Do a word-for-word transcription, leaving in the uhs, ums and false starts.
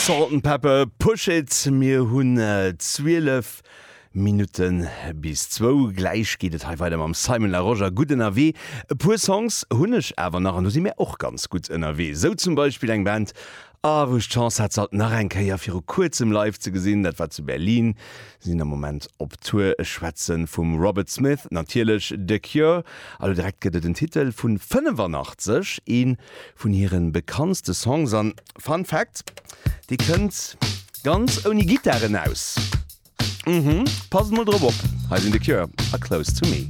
Salt-N-Pepa, Push It. Mir hunn zwielef Minutte bis zwou. Gläich geet et hei weider mam Simon Larosche a gutt ënnerwee. E puer Songs hunn ech awer nach an do si mir och ganz gutt ënnerwee. Sou zum Beispill eng Band, ah, wou ech d'Chance hat se alt nach eng Kéier viru kuerzem live ze gesinn. Dat war zu Berlin. Si sinn am Moment op Tour. Ech schwätze vum Robert Smith, natierlech The Cure. A lo direkt gëtt et en Titel vun fënnefanaachtzeg, ee vun hire bekanntste Songs. An Fun Fact, dee kënnt ganz ouni Gittaren aus. Mhm, passt mol drop op. Hei sinn The Cure a Close to Me.